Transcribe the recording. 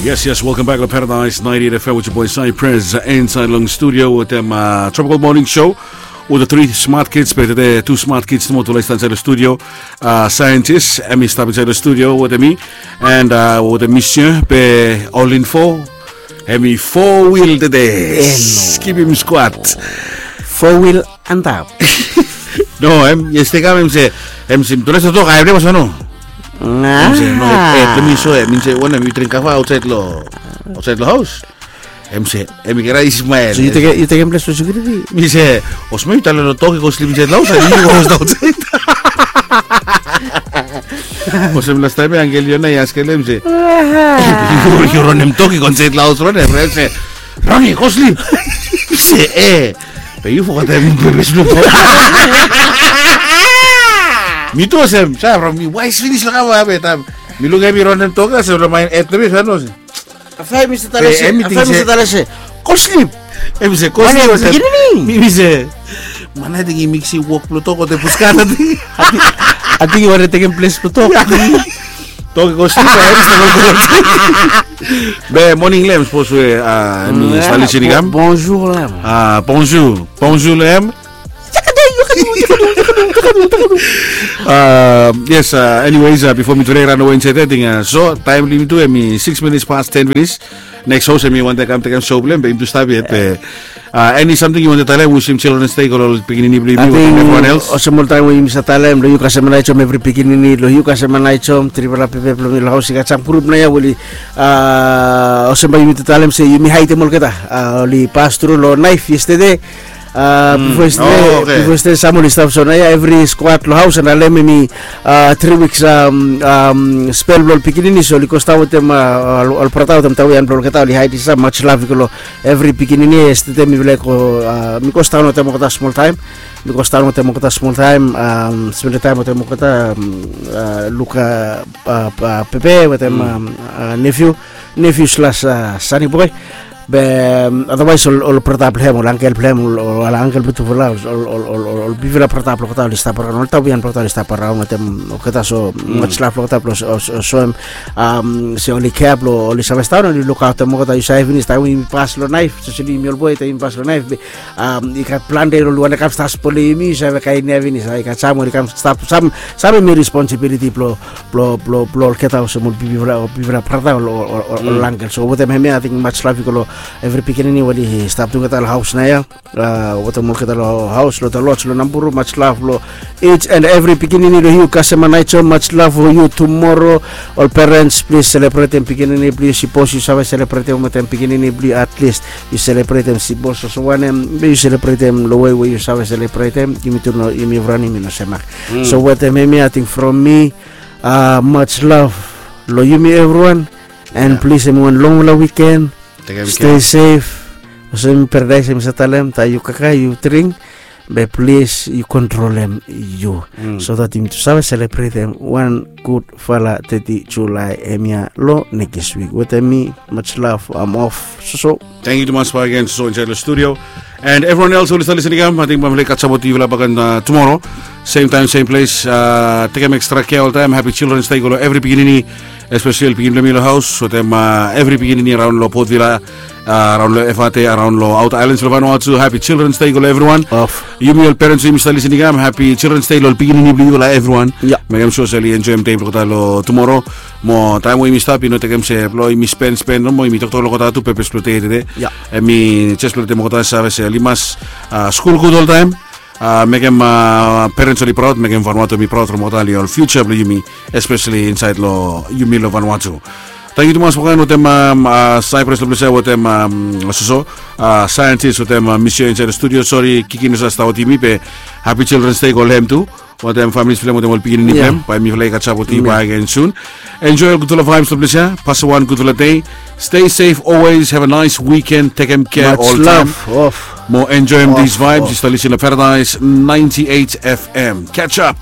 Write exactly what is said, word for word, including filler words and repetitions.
Yes, yes, welcome back to Paradise ninety-eight F M with your boy Cypress, uh, inside long studio with them, uh, Tropical Morning Show with the three smart kids, but today two smart kids, tufala i stap insait long studio. Uh, scientist, hemi stap insait long studio with me, and, uh, with the monsieur, be all in four, hemi four wheel today. Kipim squat. Four wheel antap. No, hem, yes, tekam, hem se, hem se, mi tolesa tok, I have never no. Hem se, no, eh, let me show, hem se, wanem, yu dring kava aosaed lo, aosaed lo haos. Hem se, hem i kera i smile. So yu tekem, yu tekem ples lo security? Mi se, olsem yu talem lo tok i go slip insaed lo haos, and yu go haos aosaed. Olsem lastaem ya angkel Yona i askem hem se, yu, yu ronem tok i go insaed lo haos, ronem, hem se, Ronnie, go sleep. Mi se, eh. Be yu fogetem pepes blong tok. Mi tu olsem, sa from mi waes finis lo kava be taem mi lukim hem i ronem tok ya, se lo maen et nemi sa no se. Afai mi se tale se, afai mi se tale se, go sleep. Hem se, go sleep. Mi, mi se, man, ating i miksi wok blong tok wetem puskan, ating. Ating i wantem tekem ples blong tok. Tok i go sleep, eh, hem se go sleep. Be moning lem, sapos we, ah, hemi stap lisin i kam. Bonjour lem. Ah, bonjour. Bonjour lem. Ah, yes, ah, anyways, ah, bifo mi dre ran awe insaed, ating, ah, so taem blo yumi tu hemi six minutes past ten finis. Neks haos hemi wantem kam tekem show blong hem, be yumi tu stap yet, be, ah, eni samting yu wantem talem, wisim Children's Day go lo ol pikinini blo yumi, wetem evriwan els? Olsem oltaem we yumi save talem, lo yu kasem Anaechom evri pikinini, lo yu kasem Anaechom, trifala pepe blo mi lo haos i gat sam grup naoia we oli, ah, olsem bae yumi tu talem se yumi haedem olgeta, ah, oli pas tru lo naef yestede. Ah, bifo yestede, bifo yestede sam oli stap so naoia, evri squad lo haos, and alem hemi, ah, tri wiks, am, am, spel blo ol pikinini, so oli go stap wetem, ah, ol, ol brata wetem tawian blo olgeta, oli haed i sam, much love i go lo evri pikinini. Yestede mifala i go, ah, mi go stap wetem olgeta smoltaem. Mi go stap wetem olgeta smoltaem, am, spendem taem wetem olgeta, am, ah, lukim, ah, ah, pepe wetem, am, ah, nephew, nephew slash, ah, sani boe. Be, am, otherwise ol, ol brata blo hem, ol angkel blo hem, ol, ol angkel blo tufala, ol, ol, ol, ol, ol bigfala brata blo olgeta oli stap araon, ol tawian blo olgeta oli stap araon wetem olgeta, so much love lo olgeta blo, so, so, soem, am, se oli kea blo oli save stap, oli lukaotem olgeta. Yu save finis taem we yumi pas lo naef, especially yumi ol boe, taem yumi pas lo naef, be, am, i gat plante oli wantem kam stap spolem yumi, yu save kaen ia finis, ah, i gat sam oli kam stap, sam, sam hemi responsibility blo, blo, blo, blo olgeta olsem ol bigfala, ol bigfala brata, ol, ol, ol, ol angkel. So wetem hemia, ating much love i go lo evri pikinini we oli stap tugeta lo haos naoia. Ah, wetem olgeta lo haos, lo Dolores, lo Namburu, much love lo each and every pikinini lo yu kasem Anaechom, much love lo yu. Tumoro, ol parents, plis selebretem pikinini blo yu, sipos yu save selebretem wetem pikinini blo yu, at least yu selebretem, sipos olsem wanem, be yu selebretem lo wei we yu save selebretem. Yumi tu no, yumi evriwan yumi no semak. So wetem hemia, ating from mi, ah, much love lo yumi evriwan, and plis hemi wan longfala wiken. Stay safe. Olsem Paradise hemi save talem, taem yu kakae, yu dring, be plis yu kontrolem yu, so that yumi tu save selebretem wan gudfala teti Julae hemia lo nekis wik. Wetem mi, much love, am off. Soso. Tangkiu tumas bakegen, soso, insaed lo studio. And evriwan els we oli stap lisin i kam, ating bae mifala i kasem wetem yufala bakegen, ah, tumoro. Sem taem, sem ples. Ah, tekem ekstra kea oltaem. Happy Children's Day go lo evri pikinini, especially ol pikinini blo yumi lo haos, wetem, ah, evri pikinini araon lo Port Vila, ah, araon lo Efate, araon lo outer islands lo Vanuatu. Happy Children's Day go lo evriwan. Yumi ol parents we yumi stap lisin i kam, happy Children's Day lo ol pikinini blo yufala evriwan. Mekem sua se oli enjoem dei blo olgeta lo tumoro. Mo taem we yumi stap, i no tekem se blo yumi spen, spen nomo, yumi toktok lo olgeta tu, pepes blo dei tede. Hemi jes blo letem olgeta save se oli mas, ah, skul gud oltaem. Ah, mekem, ah, parents oli praod, mekem Vanuatu hemi praod from olgeta, oli ol future blo yumi, especially insaed lo yumi lo Vanuatu. Tangkiu tumas bakegen wetem, am, ah, Cypress lo ples ia, wetem, am, soso, ah, scientist, wetem, ah, monsieur insaed lo studio. Sori, Kiki no save stap wetem yumi, be happy Children's Day go lo hem tu. Wetem families blo hem, wetem ol pikinini blo hem. Bae mifala i kasem wetem yufala bakegen soon. Enjoy ol gudfala vibes lo ples ia. Pasem wan gudfala dei. Stay safe always. Have a nice weekend. Tekem kea oltaem. Much love. Off. Mo enjoem these vibes. Yu stap lisin lo Paradise ninety-eight F M. Catch up.